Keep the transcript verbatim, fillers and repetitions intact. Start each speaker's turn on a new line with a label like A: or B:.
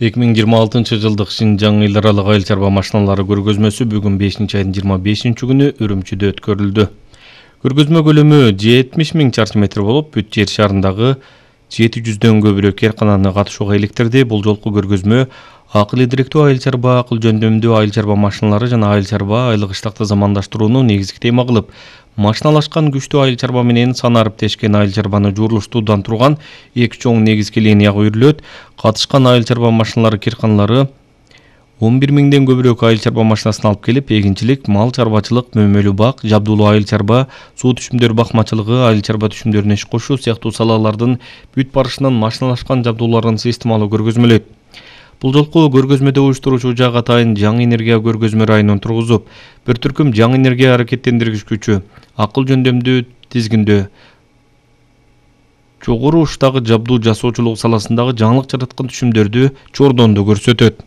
A: эки миң жыйырма алтынчы жылдык Шинжаң эл аралык айыл чарба машиналары көргөзмөсү бүгүн бешинчи айдын жыйырма бешинчи күнү Үрүмчүдө өткөрүлдү. Көргөзмө көлөмү жетимиш миң чарчы метр болуп, бүт жер шарындагы жети жүздөн көбүрөөк кээркананы катышууга иликтирди. Бул жолку көргөзмө акыл идиректүү айыл чарба, акыл жөндөмдүү айыл чарба машиналары жана айыл чарба айлык ыштакты замандаштырууну негизги тема кылып, машиналашкан күчтүү айыл чарба менен сан ариптешкен айыл чарбаны жуурулуштуудан турган эки чоң негизги линияга үйрүлөт. Катышкан айыл чарба машиналары кирканалары он бир миңден көбүрөөк айыл чарба машинасын алып келип, эгинчилик, мал чарбачылык, мөмөлүү бак, жабдуулуу айыл чарба, суу түшүмдөр бакмачылыгы, айыл чарба түшүмдөрүнө иш кошуу сыяктуу салалардын бүт барышынан машиналашкан жабдууларын системалуу көргөзмөлөйт. Бул жолку көргөзмөдө уюштуруучу жак атайын жаңы энергия көргөзмө районун тургузуп, бир түркүм жаңы энергия аракеттендиргич күчү, акыл жөндөмдүү тизгиндөө, жогору учтагы жабдуу жасоочулук саласындагы жаңылык жараткан түшүмдөрдү чордонду көрсөтөт.